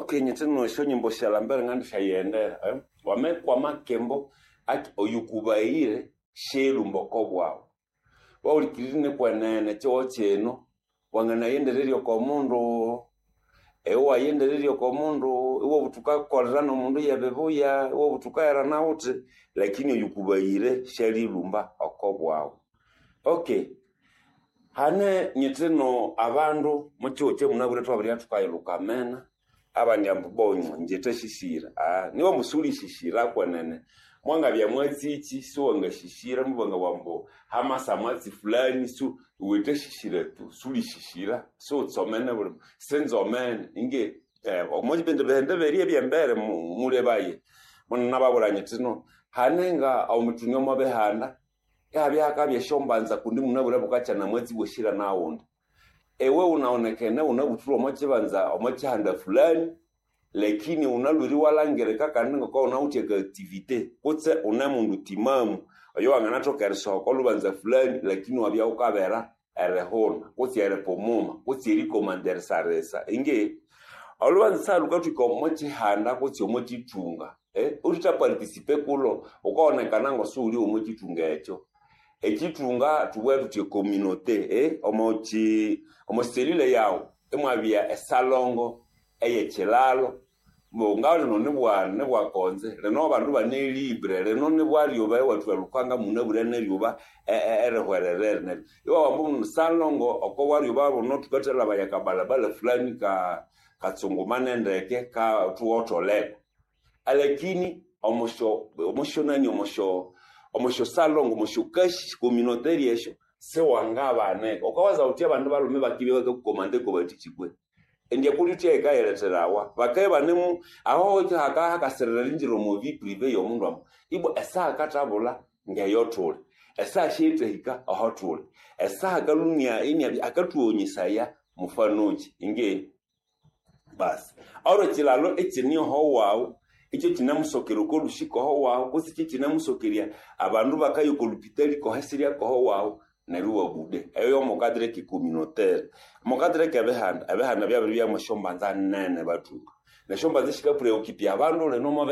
Okay nyithino esyonyimbo syalambere ngandisyayihendera wamekwama akimbo oyukubaghire syeyilhumba oko bwaghu iwahulikirira inikwenene ekihugho kino wanganaghendererya oko mundu, iwe iwaghendererya oko mundu iwabugha wuthi wukakolera nomundu yebibuya, iwabugha wuthi wukaherana wuthi lakini oyukubaghire syalilhumba oko bwaghu. Okay hane nyithino abandu omukihugho kyamunabwire thwabiribya thukayilhuka amena abandi ambu bwa ingye thasisira nibya ambu siwulisisyira kwenene mwangabya mwatsikyi siwangasisira mubangabugha ambu hamasa mwatsi fulani iwe thasisira tu siwulisisyira siwutsomene buli sinzomene inge omwabindi bihanda byerya ebyembere mulebaye munababwira nyithi no hane nga omwithunga omwa bihanda ihabya hakabya esyombanza kundi munabwire bukakya namwatsi bwesira naghundi iwe wunawonekene wunabuthirwe omo kibanza omo kihanda fulani lakini wunalhwere iwalhangirika kandi ngoko wunawithe aka activity kutse wune mundu timamu oyowanganathoka erisoha oko lhubanza fulani lakini iwabya wukabera erihuna kutse eripumuma kutse erikomanda erisarisa inge olhubanza salhukathwika omo kihanda kutse omo kithunga uthitha participe kulho wukawonekana ngosiwuli omo kithunga ekyo. Ekithunga thubughe thuthi ecommunauté omo selile yaghu imwabya esalongo eyekyilhalo ngabya lino nibwakonze lino abandu ibane libre lino nibwalyuba iwathwa elukanga munabwire neryuba erihwererere neryo iwabugha ambu salongo oko bwalyuba buno thukathalhabaya akabalabala fulani katsungumane ndeke thuwotholeko alakini omosyonani omosyo salongo omosyokashi communautaire esyo siwangabanika wukawaza wuthi abandu balhume bakibya bakakukomanda kobathikyi kwe indi ekuli thuthi yikayiletherawa bakabya ibanemu aho hakasirira eringira omo vie privée yomundu ambu ibwa esaha akathabulha ngeyo thuli esaha siyithahika aho thuli esaha akalhumya iniabya akathughonyesaya mufanokyi inge basi olwo ekyilhalo ekyine oho waghu ikyo kyinamusokera oko lhusi koho waghu kutse ikyo kyinamusokerya abandu bakaya oko lhupitali koho esirya koho waghu neryo iwabude eyo yomo cadre ke communautaire. Omo cadre kebihanda ebihanda byabiribya mwesyombanza nene bathunga nesyombanza sikapreoccupe abandu lino omo.